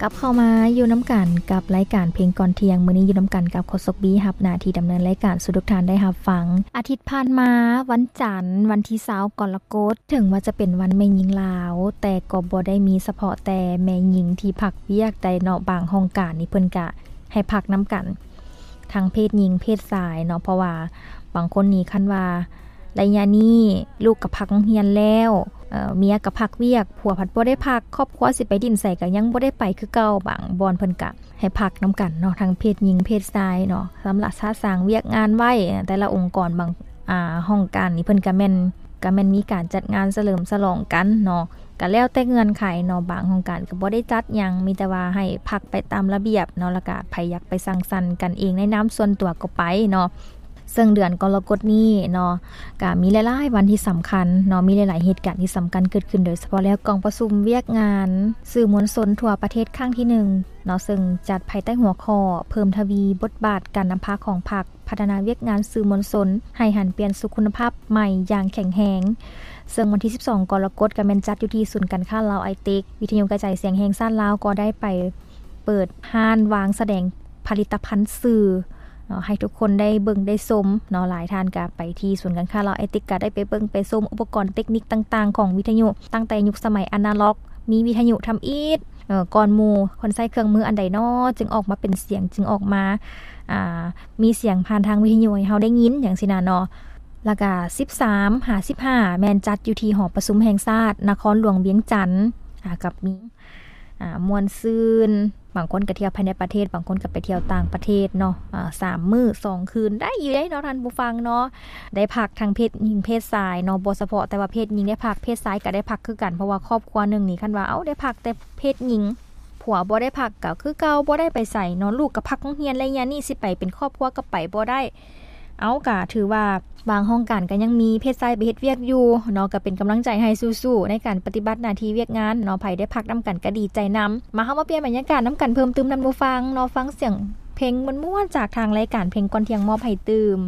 ກັບເຂົ້າມາຢູ່ນຳກັນກັບລາຍການເພງກ່ອນທ່ຽງ. ມື້ນີ້ຢູ່ນຳກັນກັບໂຄສົກບີ ຮັບໜ້າທີ່ດຳເນີນລາຍການສູ່ທຸກທ່ານໄດ້ຮັບຟັງ. ອາທິດຜ່ານມາ ວັນຈັນ ວັນທີຊາວ ກໍລະກົດ ເຖິງວ່າຈະເປັນວັນແມ່ຍິງລາວ ແຕ່ກໍບໍ່ໄດ້ມີສະເພາະແຕ່ແມ່ຍິງທີ່ພັກວຽກໃດເນາະ, ບາງຫ້ອງການນີ້ເພິ່ນກະໃຫ້ພັກນຳກັນ ທັງເພດຍິງເພດຊາຍເນາະ, ເພາະວ່າບາງຄົນນີ້ຄັນວ່າໄລຍະນີ້ລູກກໍພັກໂຮງຮຽນແລ້ວ, ເອີ ເມຍກໍພັກວຽກ, ຜົວພັດບໍ່ໄດ້ພັກ, ຄອບຄົວຊິໄປດິ້ນໃສກໍຍັງບໍ່ໄດ້ໄປຄືເກົ່າ. ບາງບ່ອນເພິ່ນກະໃຫ້ພັກນຳກັນເນາະ, ທັງເພດຍິງເພດຊາຍເນາະ, ຊຳລະສະສາງວຽກງານໄວ້. ແຕ່ລະອົງກອນ ບາງ ອ່າ ຫ້ອງການນີ້ເພິ່ນກະແມ່ນ ກະແມ່ນມີການຈັດງານສະເຫຼີມສະຫຼອງກັນເນາະ, ກະແລ້ວແຕ່ເງື່ອນໄຂເນາະ. ບາງຫ້ອງການກໍບໍ່ໄດ້ຈັດຫຍັງ, ມີແຕ່ວ່າໃຫ້ພັກໄປຕາມລະບຽບເນາະ, ແລ້ວກະໃຜຢາກໄປສັງສັນກັນເອງໃນນາມສ່ວນຕົວກໍໄປເນາະ. ເຊິ່ງເດືອນກໍລະກົດນີ້ເນາະ ກະມີຫຼາຍໆວັນທີ່ສຳຄັນເນາະ, ມີຫຼາຍໆເຫດການທີ່ສຳຄັນເກີດຂຶ້ນ, ໂດຍສະເພາະແລ້ວກອງປະຊຸມວຽກງານສື່ມວນຊົນທົ່ວປະເທດຄັ້ງທີໜຶ່ງເນາະ, ເຊິ່ງຈັດພາຍໃຕ້ຫົວຂໍ້ ເພີ່ມທະວີບົດບາດການນຳພາຂອງພັກ ພັດທະນາວຽກງານສື່ມວນຊົນໃຫ້ຫັນປ່ຽນສູ່ຄຸນນະພາບໃໝ່ຢ່າງແຂງແຮງ. ເຊິ່ງວັນທີສິບສອງ ກໍລະກົດ ກໍແມ່ນຈັດຢູ່ທີ່ສູນການຄ້າລາວໄອເຕັກ, ວິທະຍຸກະຈາຍສຽງແຫ່ງຊາດລາວກໍໄດ້ໄປເປີດຮ້ານວາງສະແດງຜະລິດຕະພັນສື່ເນາະ ໃຫ້ທຸກຄົນໄດ້ເບິ່ງໄດ້ຊົມເນາະ. ຫຼາຍທ່ານກໍໄປທີ່ສູນການຄ້າລາວໄອເຕັກ ກໍໄດ້ໄປເບິ່ງໄປຊົມອຸປະກອນເຕັກນິກຕ່າງໆຂອງວິທະຍຸ, ຕັ້ງແຕ່ຍຸກສະໄໝອານາລັອກ ມີວິທະຍຸທຳອິດ ເອີ ກ່ອນໝູ່ ເພິ່ນໃຊ້ເຄື່ອງມືອັນໃດນໍ ຈຶ່ງອອກມາເປັນສຽງ, ຈຶ່ງອອກມາ ອ່າ ມີສຽງຜ່ານທາງວິທະຍຸໃຫ້ເຮົາໄດ້ຍິນ ຈັ່ງຊີ້ນະເນາະ. ແລ້ວກະສິບສາມຫາສິບຫ້າ ແມ່ນຈັດຢູ່ທີ່ຫໍປະຊຸມແຫ່ງຊາດນະຄອນຫຼວງວຽງຈັນ, ອ່າ ກັບມີ ອ່າ ມ່ວນຊື່ນ, ບາງຄົນກະທ່ຽວພາຍໃນປະເທດ, ບາງຄົນກະໄປທ່ຽວຕ່າງປະເທດເນາະ, ອ່າ ສາມມື້ສອງຄືນ ໄດ້ຢູ່ເດ້ເນາະທ່ານຜູ້ຟັງເນາະ. ໄດ້ພັກທັງເພດຍິງເພດຊາຍເນາະ, ບໍ່ສະເພາະແຕ່ວ່າເພດຍິງໄດ້ພັກ, ເພດຊາຍກໍໄດ້ພັກຄືກັນ, ເພາະວ່າຄອບຄົວໜຶ່ງນີ້ ຄັນວ່າ ເອົ້າ ໄດ້ພັກແຕ່ເພດຍິງ ຜົວບໍ່ໄດ້ພັກກໍຄືເກົ່າ, ບໍ່ໄດ້ໄປໃສເນາະ, ລູກກໍພັກໂຮງຮຽນ ໄລຍະນີ້ຊິໄປເປັນຄອບຄົວກໍໄປບໍ່ໄດ້. ເອົ້າ ກໍຖືວ່າບາງຫ້ອງການກໍຍັງມີເພດຊາຍໄປເຮັດວຽກຢູ່ເນາະ, ກໍເປັນກຳລັງໃຈໃຫ້ສູ້ໆໃນການປະຕິບັດໜ້າທີ່ວຽກງານເນາະ, ໃຜໄດ້ພັກນຳກັນກໍດີໃຈນຳ. ມາ ເຮົາມາປ່ຽນບັນຍາກາດນຳກັນເພີ່ມຕື່ມທ່ານຜູ້ຟັງເນາະ, ຟັງສຽງເພງມ່ວນໆຈາກທາງລາຍການເພງກ່ອນທ່ຽງມອບໃຫ້ຕື່ມ.